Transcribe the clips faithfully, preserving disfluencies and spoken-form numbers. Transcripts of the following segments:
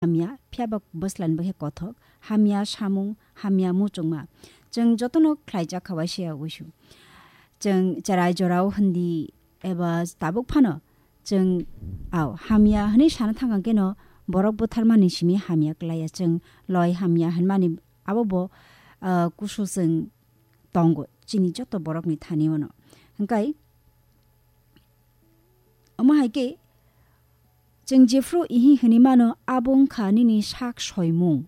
hamya, phiya ba bwslan bwkhe kothok, hamya samung, hamya muchungma. Chwng jotono khlaijak kha waisa ya uisu. Chwng cherai jorao hindi eba tabuk phano chwng, ao, hamya hwnwi sana thangkha keno borok butharmani simi hamya klaiya. Chwng loi hamya hwnmani abo bo, ah, kusu chwng tongo chini joto borokni thani ono. Hwnkhe omo hai khe chwng jephru ihi hwnwi mano, abo wngkha nini sak soimung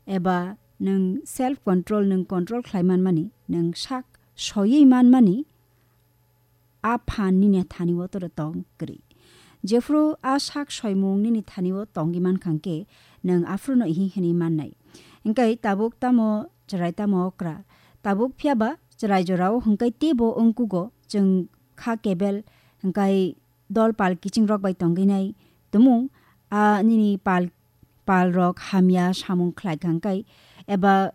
eba nwng self control, nwng control khlai manmani, nwng sak soiwi manmani, a phan nini thani o toro tong kwrwi. Jephru a sak soimung nini thani o tongwi mankha hwnkhe, nwng aphruno ihi hwnwi mannai. Hwnkhe tabuk tamo chwrai tamo okra. Tabuk phiya ba chwrai jorao hwnkhe teibo wngkugo chwng kha kebel hwnkhe dol pal kiching rok bai tongwi nai tumung a nini pal, pal rok hamya samung khlai kha hwnkhe eba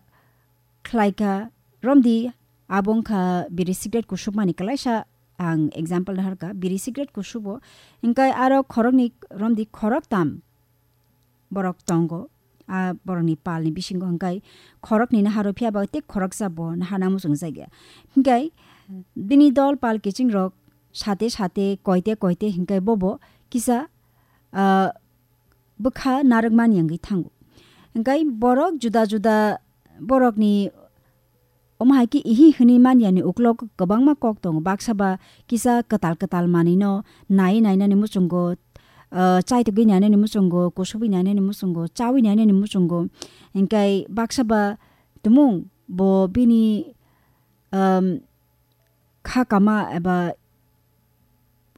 khlai kha, romdi abo wngkha biri cigarette kusupmani kwlaisa ang example naharkha, biri cigarette kusubo, hwnkhe aro khoroknwi romdi khoroktam borok tongo, a borokni palni bisingo hwnkhe khoroknwi naharo phiya ba tei khoroksa bo naharna muchungjakya. Hwnkhe bini dol pal kiching rok sate sate koite koite hwnkhe bobo kisa, ah, bwkha narwkmani wngwi thango. Hwnkhe borok juda juda borokni omo hai khe ihi hwnwi manyani uklok kwbangma kok tongo. Baksa ba kisa kwtal kwtal manwino naiwi nainani muchungo, ah, chaitugwi nainani muchungo, kusubwi nainani muchungo, chawi nainani muchungo. Hwnkhe baksa ba tumung bo bini, um, kha kama eba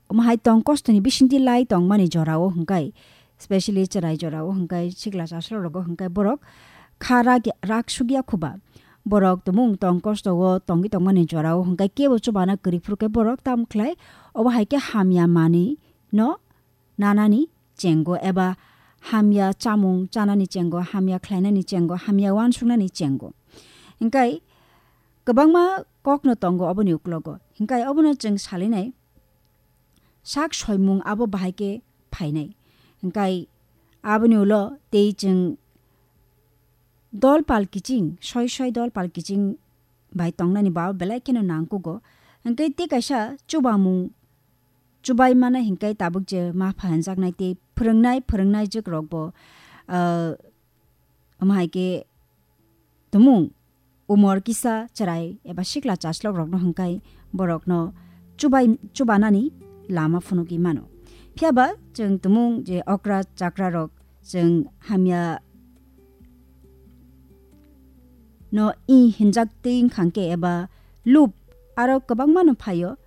omo hai tong kostoni bisingtwi lai tongmani jorao hwnkhe, specially chwrai jorao hwnkhe, sikla chasla rogo hwnkhe borok kha rak, rak sugya khuba. Borok tumung tong kosto o tongwi tongmani jorao hwnkhe kebo chubana kwrwi phuru khe borok tamo khlai, obo hai khe hamya manwi no nanani chengo eba hamya chamung chanani chengo, hamya khlainani chengo, hamya uansuknani chengo. Hwnkhe kwbangma kokno tongo oboni uklogo. Hwnkhe obono chwng salinai sak soimung abo bahai khe phainai. Hwnkhe aboni ulo tei chwng dol pal kiching, soi soi dol pal kiching bai tongnani ba belai kheno nangkugo. Hwnkhe tei kaisa chubamung chubai mano hwnkhe tabuk je ma pha hwnjaknai tei phwrwngnai, phwrwngnai jwk rok bo, ah, omo hai khe tumung umor kisa chwrai eba sikla chaslok rokno hwnkhe borokno chubai, chubanani lama phunugwi mano. Phiya ba chwng tumung je okra chakra rok chwng hamya no i hinjak twi wngkha hwnkhe eba lup aro kwbangma no phaio.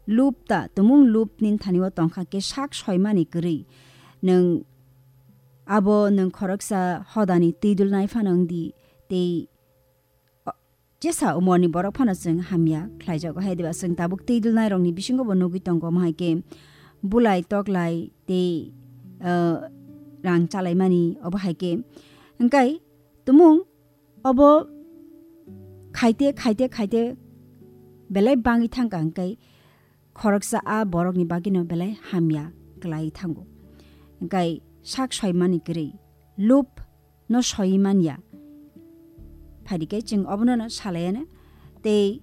Lup ta, tumung lup ni thani o tongkha khe sak soimani kwrwi. Nwng abo nwng khoroksa hodani twi dulnai phano wngdi tei, o, jesa umorni borok phano chwng hamya khlaijago. Hai diba chwng tabuk twi dulnai rokni bisingo bo nugwi tongo, omo hai khe bulai toklai tei, o, rang chalaimani obo hai khe. Hwnkhe tumung obo khaite, khaite, khaite belai bangwi thangkha hwnkhe khoroksa a borokni bagwino belai hamya kwlai thango. Hwnkhe sak soimani kwrwi, lup no soi manya. Phaidi khe chwng obono no salaiya no. Tei,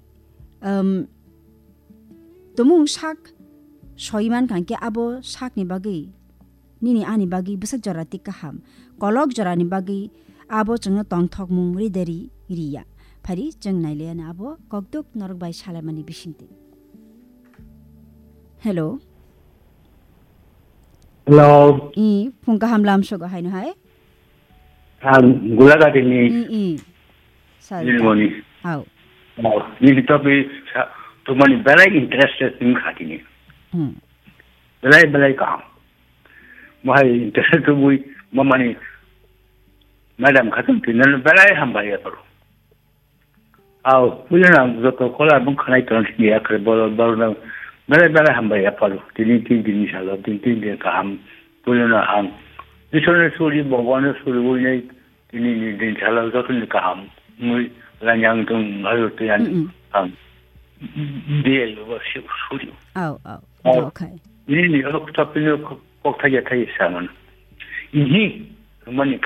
um, tumung sak soi mankha hwnkhe abo sakni bagwi nini ani bagwi bwswk jora twi kaham. Kolok jorani bagwi abo chwngno tongthokmung ride ri, riya. Phari chwng nailaiya no abo kokduk norok bai salaimani bisingtwi. Hello. Hello. I, phung kaham lamsogo haino hai? Ang Gulagati ni. I, i. Sal. Nilmoni. Au. Au. Nini topi sa, tumani belai interested ning khatini. Hmm. Belai, belai kaham. Mohai interested tubui, mamani madam khatung tinan belai hambai ya paru. Au, puila na joto kola bung khanai ton sini ya kare bolo, bolo na belai, belai hambai ya paru. Tini tin, tin salo, tin, tin din kaham. Puila na ang. Isor na suri, Bhagwan na suri, ui nai. Tini ni din salo joto ni kaham. Mui lanyang tung ayo tiyan Mm-mm. Ang. Dia yo ba si suri. Au, au. Au. Okay. Ini ni alo kutapin yo kok thaya thaya saman. Ini Thumani